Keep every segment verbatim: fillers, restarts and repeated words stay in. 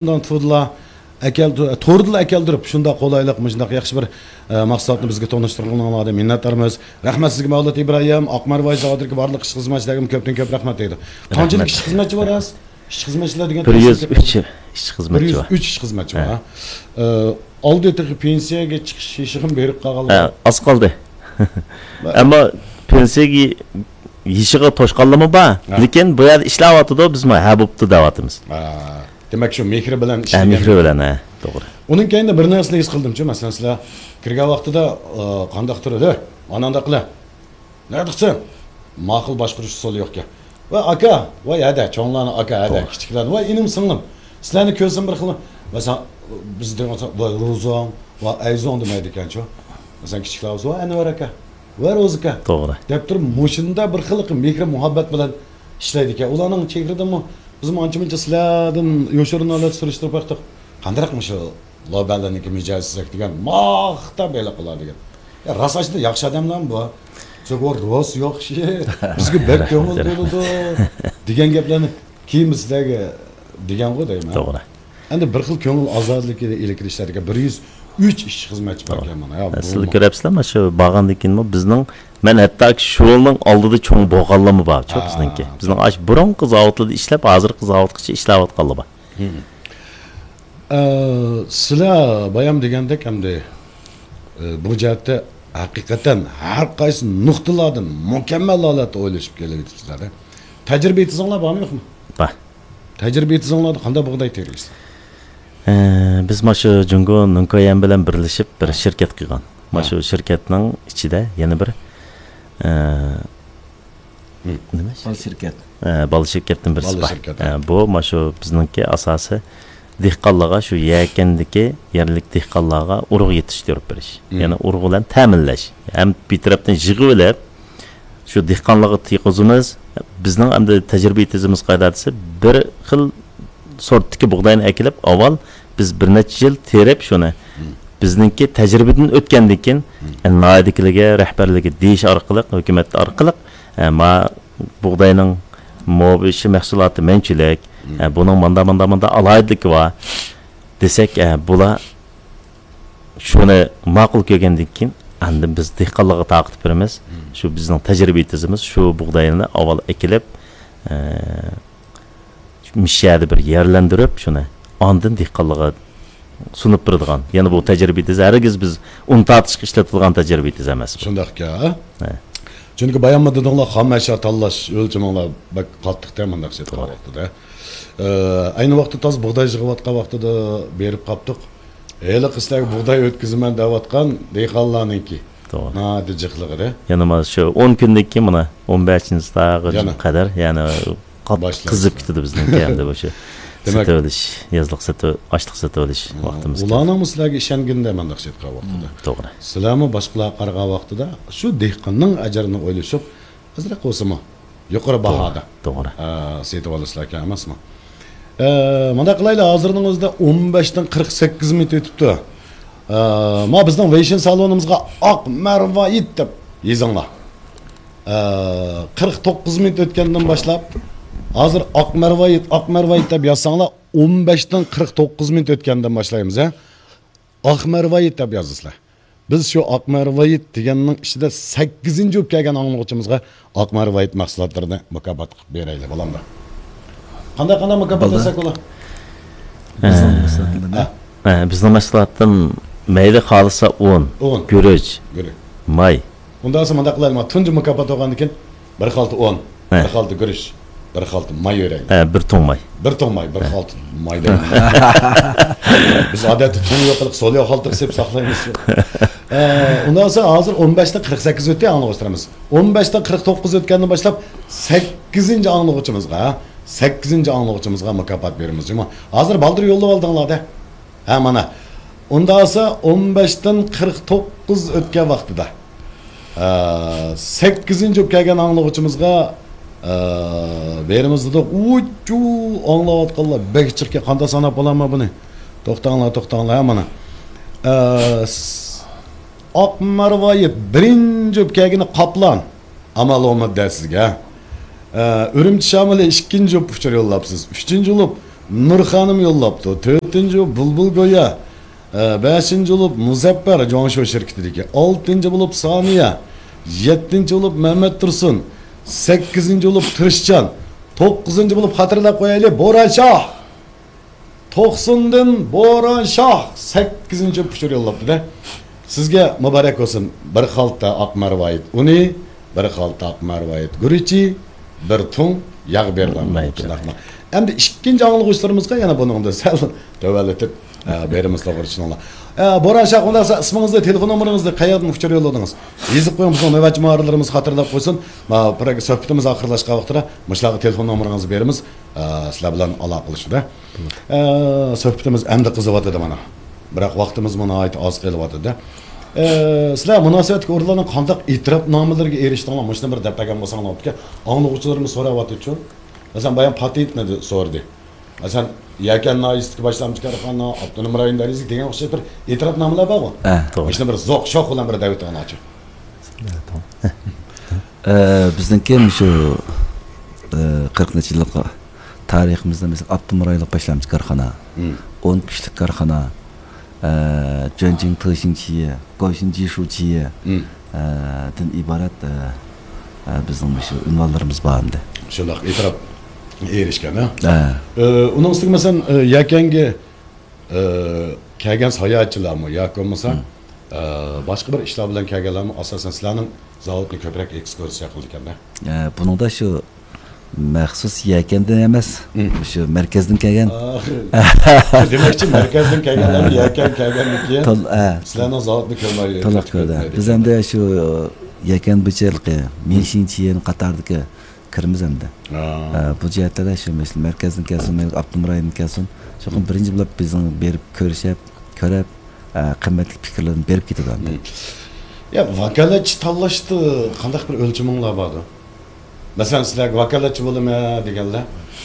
ئۇنىڭ تۇردىلا ئەكەلدى-، توردىلا ئەكەلدۈرۈپ، شۇنداق قولايلىق، مۇشۇنداق ياخشى بىر، ئە، مەھسۇلاتنى بىزگە تونۇشتۇرغىنىڭلاردىن مىننەتدارمىز. رەھمەت سىزگە، مەۋلۇت ئىبراھىم، ئاق مەرۋايىت زاۋۇتىدىكى بارلىق ئىشچى خىزمەتچىلەرگە كۆپتىن كۆپ رەھمەت دەيدۇ. قانچىلىك رەھمەت. ئىشچى خىزمەتچى بار ھازىر؟ ئىشچى خىزمەتچىلەر دېگەن بىر يۈز ئۈچ ئىشچى خىزمەتچى بار. بىر يۈز ئۈچ ئىشچى خىزمەتچى بار، ھە. ھە. ئە، ئالدى تېخى پېنسىيەگە چىقىش يېشىغىمۇ بېرىپ قالغانلار. ھە، ئاز قالدى. ئەمما پېنسىيەگە يېشىغا توشقانلىرىمۇ بار. ھە. لېكىن بۇ يەردە ئىشلەۋاتىدۇ، بىزمۇ ھە بوپتۇ دەۋاتىمىز. ھە. دېمەك، شۇ مېھرى بىلەن ھە، ئىشلىگەن. مېھرى بىلەن، ھە، توغرا. ئۇنىڭ كەينىدە بىر نەرسىنى ھېس قىلدىمچۇ، مەسىلەن، سىلەر كىرگەن ۋاقتىدا، ئە، قانداقتۇر ئىدى؟ ئانانداقلا. نەدىقسەن؟ ماقۇل باشقۇرۇش ئۇسۇلى يوقكەن. ۋاي ئاكا، ۋاي ھەدە، چوڭلارنى ئاكا، ھەدە، توغرا. كىچىكلەرنى، ۋاي ئىنىم سىڭلىم. سىلەرنى كۆرسەم بىر خىل، مەسىلەن، بىز دېگەن ۋاي روزاڭ، ۋاي ئەيزوڭ دېمەيدىكەنچۇ. مەسىلەن، كىچىكلەر بولسا، ۋاي ئەنۋەر ئاكا، ۋاي روزا ئاكا. توغرا. دەپ تۇرۇپ، مۇشۇنداق بىر خىل مېھرى مۇھەببەت بىلەن ئىشلەيدىكەن. ئۇلارنىڭ چېھرىدىمۇ بىزمۇ ئانچە مۇنچە سىلەردىن يوشۇرۇن ھالەتتە سۈرۈشتۈرۈپ باقتۇق. قانداق مۇشۇ لوبەلەرنىڭكى مىجەزى سەك دېگەن، ماختاپ ھېلىقىلار دېگەن. يا، راست ئاشۇنداق ياخشى ئادەملەرمۇ بار. چوقۇم روس يوق ئىشى. بىزگە بەك كۆڭۈل بولىدۇ دېگەن گەپلەرنى كېيىن بىز سىلەرگە دېگەنغۇ دەيمەن. توغرا. ئەمدى بىر خىل كۆڭۈل ئازادلىقى ئىلى كىرىشلەردىكى بىر يۈز ئۈچ ئىشچى خىزمەتچى باركەن مانا. يا، سىلەر بۇمۇ. كۆرەپسىلەر، مانا شۇ بارغاندىن كېيىنمۇ بىزنىڭ، مەن ھەتتاكى شۇ يولنىڭ ئالدىدا چوڭ بولغانلىرىمۇ بار، شۇ ھە، بىزنىڭكى. توغرا. بىزنىڭ ئاشۇ بۇرۇنقى زاۋۇتلىرىدا ئىشلەپ، ھازىرقى زاۋۇتقىچە ئىشلەۋاتقانلار بار. ئە، سىلەر بايام دېگەندەك ئەمدى، ئە، بۇ جەھەتتە ھەقىقەتەن ھەر قايسى نۇقتىلاردىن مۇكەممەل ھالەتتە ئويلىشىپ كېلىۋېتىپسىلەر. تەجرىبە يېتىزىڭلار بارمۇ يوقمۇ؟ بار. تەجرىبە يېتىزىڭلاردا قانداق بۇغداي تېرىيسىلەر؟ ئە، بىز مانا شۇ جۇڭگو نىڭكويەن بىلەن بىرلىشىپ بىر ھە. شىركەت قىلغان. مانا ھە. شۇ شىركەتنىڭ ئىچىدە يەنە بىر، ئە، مم. نېمە؟ بالا شىركەت. ئە، بالا شىركەتتىن بىرسى بالا بار. شىركەت، ئە، ھە. بۇ، مانا شۇ بىزنىڭكى ئاساسىي دېھقانلارغا، شۇ يەكەندىكى يەرلىك دېھقانلارغا ئۇرۇغ يېتىشتۈرۈپ بېرىش. مم. يەنى ئۇرۇغ بىلەن تەمىنلەش. ھەم بىر تەرەپتىن يىغىۋېلىپ، شۇ دېھقانلارغا تېرىقىزىمىز، بىزنىڭ ئەمدى تەجرىبە يېتىزىمىز قايدا دېسە، بىر خىل سورتتىكى بۇغداينى ئەكېلىپ، ئاۋۋال بىز بىر نەچچە يىل تېرىپ شۇنى، مم. بىزنىڭكى تەجرىبىدىن ئۆتكەندىن كېيىن، مم. ئە، ناھىيەدىكىلەرگە، رەھبەرلىككە دېيىش ئارقىلىق، ھۆكۈمەت ئارقىلىق، ئە، ما بۇغداينىڭ مو بىر مەھسۇلاتى مەنچىلىك، مم. ئە، بۇنىڭ ماندا، ماندا، ماندا ئالاھىدىلىكى بار دېسەك، ئە، بۇلار شۇنى ماقۇل كۆرگەندىن كېيىن، ئاندىن بىز دېھقانلارغا تارقىتىپ بېرىمىز. مم. شۇ بىزنىڭ تەجرىبە يېتىزىمىز، شۇ بۇغداينى ئاۋۋال ئەكېلىپ، ئە، مۇشۇ يەردە بىر يەرلەندۈرۈپ، شۇنى ئاندىن دېھقانلارغا سۇنۇپ بېرىدىغان. يەنە بۇ تەجرىبە يېتىزى ھەرگىز بىز ئۇن تارتىشقا ئىشلىتىدىغان تەجرىبە يېتىزى ئەمەس بۇ. شۇنداق ئىكەن، ھە؟ ھە. چۈنكى بايانمۇ دېدىڭلار، خام ئەشيا تاللاش ئۆلچىمىڭلار بەك قاتتىقتە مۇنداق سېتىلغان توغرا. ۋاقتىدا. ئە، ئەينى ۋاقىتتا تازا بۇغداي يىغىۋاتقان ۋاقتىدا بېرىپ قاپتۇق. ھېلىقى سىلەرگە بۇغداي ئۆتكۈزىمەن دەۋاتقان دېھقانلارنىڭكى. توغرا. ناھايىتى جىقلىق ئىدى. يەنە مانا شۇ ئون كۈندىن كېيىن مانا ئون بەشىنچى تاغىغا يەنە. قەدەر، يەنە قات-، باشلايسىز. قىزىپ كېتىدۇ بىزنىڭكى ئەمدى مۇشۇ دېمەك، سېتىۋېلىش، يازلىق سېتىۋ-، ئاشلىق سېتىۋېلىش ۋاقتىمىز كېلىدۇ. ئۇلارنىڭمۇ سىلەرگە ئىشەنگىنىدە مانداق سېتىۋاتقان ۋاقتىدا. مم، توغرا. سىلەرمۇ باشقىلارغا قارىغان ۋاقتىدا شۇ دېھقاننىڭ ئەجرىنى ئويلىشىپ، ئازراق بولسىمۇ يۇقىرى توغرا، باھادا، توغرا. ئە، سېتىۋالىسىلەركەن ئەمەسمۇ؟ ئە، مۇنداق قىلايلى، ھازىرنىڭ ئۆزىدە ئون بەشتىن قىرىق سەككىز مىنۇت ئۆتۈپتۇ. ئە، ما بىزنىڭ ۋېيشىن سالونىمىزغا ئاق مەرۋايىت دەپ يېزىڭلار. ئە، قىرىق توققۇز مىنۇت ئۆتكەندىن باشلاپ، ھازىر ئاق مەرۋايىت، ئاق مەرۋايىت دەپ يازساڭلار، ئون بەشتىن قىرىق توققۇز مىنۇت ئۆتكەندىن باشلايمىز، ھە؟ ئاق مەرۋايىت دەپ يازىسىلەر. بىز شۇ ئاق مەرۋايىت دېگەننىڭ ئىچىدە سەككىزىنچى بولۇپ كەلگەن ئاڭلىغۇچىمىزغا ئاق مەرۋايىت مەھسۇلاتلىرىنى مۇكاپات قىلىپ بېرەيلى، بولامدۇ؟ قانداق، قانداق مۇكاپات بولدى. بەرسەك بولا؟ بىزنىڭ ھە. مەھسۇلاتلىرىنى. ھە. ھە، بىزنىڭ مەھسۇلاتتىن مەيلى خالىسا ئۇن، ئۇن. گۈرۈچ، گۈرۈچ. ماي. ئۇنداق بولسا مۇنداق قىلايلى، ما تۇنجى مۇكاپات بولغاندىن كېيىن بىر خالتا ئۇن، ھە. بىر خالتا گۈرۈچ، بىر خالتا ماي بېرەيلى. ھە، بىر تۇڭ ماي. بىر تۇڭ ماي، بىر ھە. خالتا ماي دەيمىز. بىز ئادەتتە تۇڭ يوق قىلىپ، سول يوق خالتا قىلىپ ساقلايمىز. ھە، ئۇنداق بولسا ھازىر ئون بەشتىن قىرىق سەككىز ئۆتتى، ئاڭلىغۇچىلىرىمىز. ئون بەشتىن قىرىق توققۇز ئۆتكەندىن باشلاپ سەككىزىنچى ئاڭلىغۇچىمىزغا، سەككىزىنچى ئاڭلىغۇچىمىزغا مۇكاپات بېرىمىز جۇمۇ. ھازىر بالدۇر يوللاپ ئالدىڭلار-دە. ھە، مانا. ئۇنداق بولسا ئون بەشتىن قىرىق توققۇز ئۆتكەن ۋاقتىدا، ئە، سەككىزىنچى بولۇپ كەلگەن ئاڭلىغۇچىمىزغا، ئە، بېرىمىز دېدۇق. ئۇچۇ، ئاڭلاۋاتقانلار بەك جىقكەن، قانداق ساناپ بولامەن بۇنى؟ توختاڭلار، توختاڭلار، ھە، مانا. ئە، س-، ئاق مەرۋايىت بىرىنچى بولۇپ كەلگىنى قاپلان. ئامال ئومۇت دە سىزگە. ئە، ئۈرۈمچى شامىلى ئىككىنچى بولۇپ ئۇچۇر يوللاپسىز. ئۈچىنچى بولۇپ نۇر خانىم يوللاپتۇ. تۆتىنچى بولۇپ بۇلبۇل گويا. ئە، بەشىنچى بولۇپ مۇزەپپەر، جۇاڭشو شىركىتىدىكى. ئالتىنچى بولۇپ سانىيە. يەتتىنچى بولۇپ مەمەت تۇرسۇن. سەككىزىنچى بولۇپ تىرىشچان. توققۇزىنچى بولۇپ خاتىرىلەپ قويايلى، بوران شاھ. توقسۇندىن بوران شاھ سەككىزىنچى ئۇچۇر يوللاپتۇ-دە. سىزگە مۇبارەك بولسۇن. بىر خالتا ئاق مەرۋايىت ئۇنى، بىر خالتا ئاق مەرۋايىت گۈرۈچى، بىر تۇڭ ياغ بېرىلىڭ. مايكا. شۇنداقمۇ؟ ئەمدى ئىككىنچى ئاڭلىغۇچىلىرىمىزغا يەنە بۇنىڭدا سەل تۆۋەنلىتىپ، ئە، بېرىمىز، توغرا چۈشىنىڭلار. ئە، بوران شاھ، ئۇنداق بولسا ئىسمىڭىزنى، تېلېفون نومۇرىڭىزنى، قەيەردىن ئۇچۇر يوللىدىڭىز؟ يېزىپ قويۇڭ، بىزنىڭ نۆۋەتچى مۇھەررىرلىرىمىز خاتىرىلەپ قويسۇن. ما، بىر سۆھبىتىمىز ئاخىرلاشقان ۋاقتىدا مۇشۇلارغا تېلېفون نومۇرىڭىزنى بېرىمىز. ئە، سىلەر بىلەن ئالاقىلىشىدۇ. ئە، سۆھبىتىمىز ئەمدى قىزىۋاتىدۇ مانا. بىراق ۋاقتىمىزمۇ ناھايىتى ئاز قېلىۋاتىدۇ. ئە، سىلەر مۇناسىۋەتلىك ئورۇنلارنىڭ قانداق ئېتىراپنامىلىرىگە ئېرىشتىڭلار؟ مۇشۇنى بىر دەپ بەرگەن بولساڭلار بولىدىكەن. ئاڭلىغۇچىلىرىمىز سوراۋاتىدۇ. مەسىلەن، بايام پاتېنتنى سورىدى. مەسىلەن، يەكەن ناھىيەسىدىكى باشلامچى كارخانا، ئاپتونوم رايون دەرىجىسىدىكى دېگەن ئوخشاش بىر ئېتىراپنامىلەر بارغۇ. ئە، توغرا. مۇشۇنى بىر زوق شوخ بىلەن بىر دەۋېتىڭلارچۇ. ئە، بىزنىڭكى مۇشۇ، ئە، قىرىق نەچچە يىللىق تارىخىمىزدا، مەسىلەن، ئاپتونوم رايونلۇق باشلامچى كارخانا، مم. ئون كۈچلۈك كارخانا، ئە، جۆنجىڭ تېشىڭچىيې، گوشىن جىشۇچىيې، مم. ئە، دىن ئىبارەت، ئە، ئە، بىزنىڭ مۇشۇ ئۇنۋانلىرىمىز بار ئەمدى. شۇنداق ئېتىراپ ئېرىشكەن، ھە؟ ئە. ئە، ئۇنىڭ ئۈستىگە، مەسىلەن، ئە، يەكەنگە، ئە، كەلگەن ساياھەتچىلەرمۇ ياكى بولمىسا، مم. ئە، باشقا بىر ئىشلار بىلەن كەلگەنلەرمۇ ئاساسەن سىلەرنىڭ زاۋۇتنى كۆپرەك ئېكسكۇرسىيە قىلىدىكەن-دە. ئە، بۇنىڭدا شۇ مەخسۇس يەكەندىن ئەمەس، مم. شۇ مەركەزدىن كەلگەن. ئا، دېمەكچى، مەركەزدىن كەلگەنلەر يەكەن كەلگەندىن كېيىن تول-، ئە. سىلەرنىڭ زاۋۇتنى كۆرمەي تولۇق كۆردى. بىز ئەمدى شۇ يەكەن بۇچىلىقى، مم. مىشىنچيېن قاتارىدىكى كىرىمىز ئەمدى. ئا. ئە، بۇ جەھەتتە شۇ مەركەزدىن كەلسۇن، ئاپتونوم رايوندىن كەلسۇن، چوقۇم بىرىنچى بولۇپ بىزنىڭ بېرىپ كۆرۈشۈپ، كۆرۈپ، ئە، قىممەتلىك پىكىرلىرىنى بېرىپ كېتىدۇ ئەمدى. مم. يا، ۋاكالەتچى تاللاشتا قانداق بىر ئۆلچىمىڭلار باردۇ؟ مەسىلەن، سىلەرگە ۋاكالەتچى بولىمەن دېگەنلەر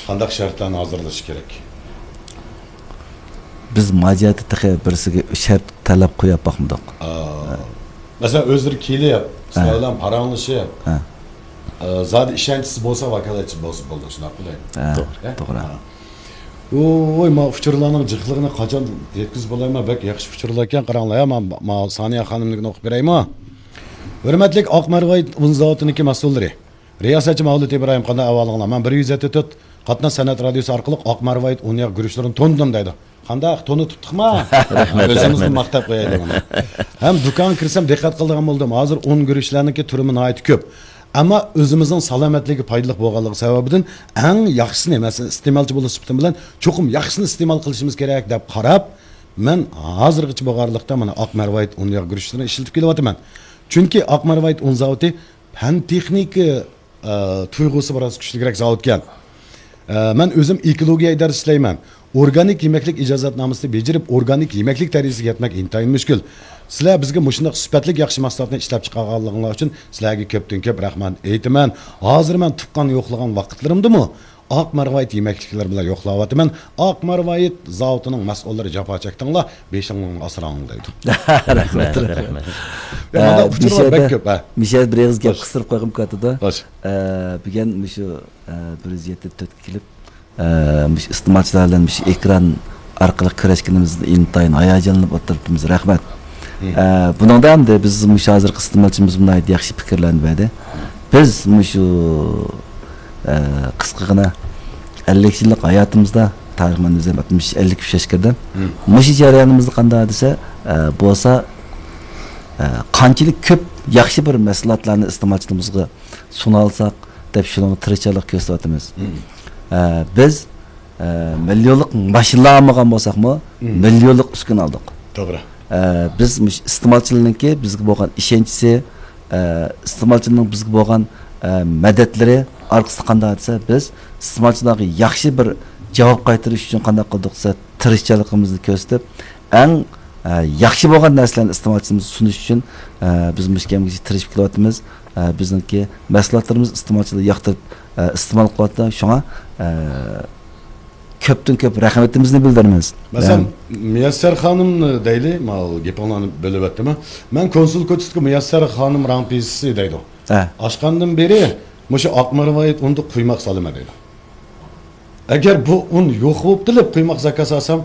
قانداق شەرتلەرنى ھازىرلىشى كېرەك؟ بىز ماجىيەتتە تېخى بىرسىگە شەرت تەلەپ قويۇپ باقمىدۇق. ئا. ھە. مەسىلەن، ئۆزلىرى كېلىپ، سىلەر ھە. بىلەن پاراڭلىشىپ، ھە. ئا، زادى ئىشەنچىسى بولسا، ۋاكالەتچى بولسا بولىدۇ، شۇنداقمۇ دەيمەن؟ ھە، ھە؟ توغرا. ھە. ۋوي، ما ئۇچۇرلارنىڭ جىقلىقىنى قاچان يەتكۈزۈپ بولايمەن؟ بەك ياخشى ئۇچۇرلار ئىكەن، قاراڭلار، ھە، ما، ما سانىيە خانىمنىڭكىنى ئوقۇپ بېرەيمۇ؟ ھۆرمەتلىك ئاق مەرۋايىت ئۇن زاۋۇتىنىڭكى مەسئۇللىرى. رىياسەتچى مەۋلۇت ئىبراھىم، قانداق ئەھۋالىڭلار؟ مەن بىر يۈز يەتتە تۆت قاتناش سەنئەت رادىيوسى ئارقىلىق ئاق مەرۋايىت ئۇن ياغ گۈرۈچلىرىنى تونۇدۇم دەيدۇ. قانداق، تونۇتۇپتۇقما؟ رەھمەت، ئۆزىمىزنى رەھمەت. ماختاپ قويايلى مانا. ھەم دۇكانغا كىرسەم دىققەت قىلىدىغان بولدۇم. ھازىر ئۇن گۈرۈچلەرنىڭكى تۈرىمۇ ناھايىتى كۆپ. ئەمما ئۆزىمىزنىڭ سالامەتلىكىگە پايدىلىق بولغانلىقى سەۋەبىدىن ئەڭ ياخشىسىنى، مەسىلەن، ئىستېمالچى بولۇش سۈپىتىم بىلەن چوقۇم ياخشىسىنى ئىستېمال قىلىشىمىز كېرەك دەپ قاراپ، مەن ھازىرغىچە بولغانلىقتا مانا ئاق مەرۋايىت ئۇن ياغ گۈرۈچلىرىنى ئىشلىتىپ كېلىۋاتىمەن. چۈنكى ئاق مەرۋايىت ئۇن زاۋۇتى پەن تېخنىكا، ئە، تۇيغۇسى بىراز كۈچلۈكرەك زاۋۇتكەن. ئە، مەن ئۆزۈم ئېكولوگىيە ئىدارىسىدە ئىشلەيمەن. ئورگانىك يېمەكلىك ئىجازەتنامىسىنى بېجىرىپ، ئورگانىك يېمەكلىك دەرىجىسىگە يەتمەك ئىنتايىن مۈشكۈل. سىلەر بىزگە مۇشۇنداق سۈپەتلىك ياخشى مەھسۇلاتنى ئىشلەپ چىقارغانلىقىڭلار ئۈچۈن سىلەرگە كۆپتىن كۆپ رەھمەت ئېيتىمەن. ھازىر مەن تۇغقان يوقلىغان ۋاقىتلىرىمدىمۇ ئاق مەرۋايىت يېمەكلىكلىرى بىلەن يوقلاۋاتىمەن. ئاق مەرۋايىت زاۋۇتىنىڭ مەسئۇللىرى جاپا چەكتىڭلار، بېشىڭلارنى ئاسراڭلار دەيدۇ. رەھمەت، رەھمەت. يا، مانا ئە، ئۇچۇرلار بەك كۆپ، ھە. مىشەدە بىر ئېغىز گەپ قىستۇرۇپ قويغۇم كەلدىدۇ. خوش. ئە، بۈگۈن مۇشۇ، ئە، بىر يۈز يەتتە تۆتكە كېلىپ، ئە، مۇشۇ ئىستېمالچىلار بىلەن مۇشۇ ئېكران ئارقىلىق كۆرۈشكىنىمىزدىن ئىنتايىن ھاياجانلىنىپ ئولتۇرۇپتىمىز. رەھمەت. مم. ئە، بۇنىڭدا ئەمدى بىز مۇشۇ ھازىرقى ئىستېمالچىمىز ناھايىتى ياخشى پىكىرلەرنى بەردى. بىز مۇشۇ، ئە، قىسقىغىنا ئەللىك يىللىق ھاياتىمىزدا، تارىخ، مەن ئۆزۈم ئاتمىش، ئەللىك ئۈچ ياشقا كىردىم. مم. مۇشۇ جەريانىمىزدا قانداق دېسە، ئە، بولسا، ئە، قانچىلىك كۆپ ياخشى بىر مەھسۇلاتلارنى ئىستېمالچىلىرىمىزغا سۇنالساق دەپ شۇنىڭغا تىرىشچانلىق كۆرسىتىۋاتىمىز. مم. ئە، بىز، ئە، مىليونلۇق ماشىنىلار ئالمىغان بولساقمۇ، مم. مىليونلۇق ئۈسكۈنە ئالدۇق. توغرا. ئە، بىز مۇشۇ ئىستېمالچىلارنىڭكى بىزگە بولغان ئىشەنچىسى، ئە، ئىستېمالچىنىڭ بىزگە بولغان، ئە، مەدەتلىرى ئارقىسىدا قانداق دېسە، بىز ئىستېمالچىلارغا ياخشى بىر جاۋاب قايتۇرۇش ئۈچۈن قانداق قىلدۇق دېسە، تىرىشچانلىقىمىزنى كۆرسىتىپ، ئەڭ، ئە، ياخشى بولغان نەرسىلەرنى ئىستېمالچىمىزغا سۇنۇش ئۈچۈن، ئە، بىز مۇشۇ كەمگىچە تىرىشىپ كېلىۋاتىمىز. ئە، بىزنىڭكى مەھسۇلاتلىرىمىز ئىستېمالچىلار ياقتۇرۇپ، ئە، ئىستېمال قىلىۋاتىدۇ. شۇڭا، ئە، كۆپتىن كۆپ رەھمىتىمىزنى بىلدۈرىمىز. مەسىلەن، ئەم، مۇيەسسەر خانىمنى دەيلى، ماۋۇ گېپىڭلارنى بۆلۈۋەتتىم. مەن كونسۇل كوچىسىدىكى مۇيەسسەر خانىم راڭپىسى دەيدۇ. ئە. ئاچقاندىن بېرى مۇشۇ ئاق مەرۋايىت ئۇندا قۇيماق سالىمەن دەيدۇ. ئەگەر بۇ ئۇن يوق بولۇپ قېلىپ قۇيماق زاكاز ئالسام،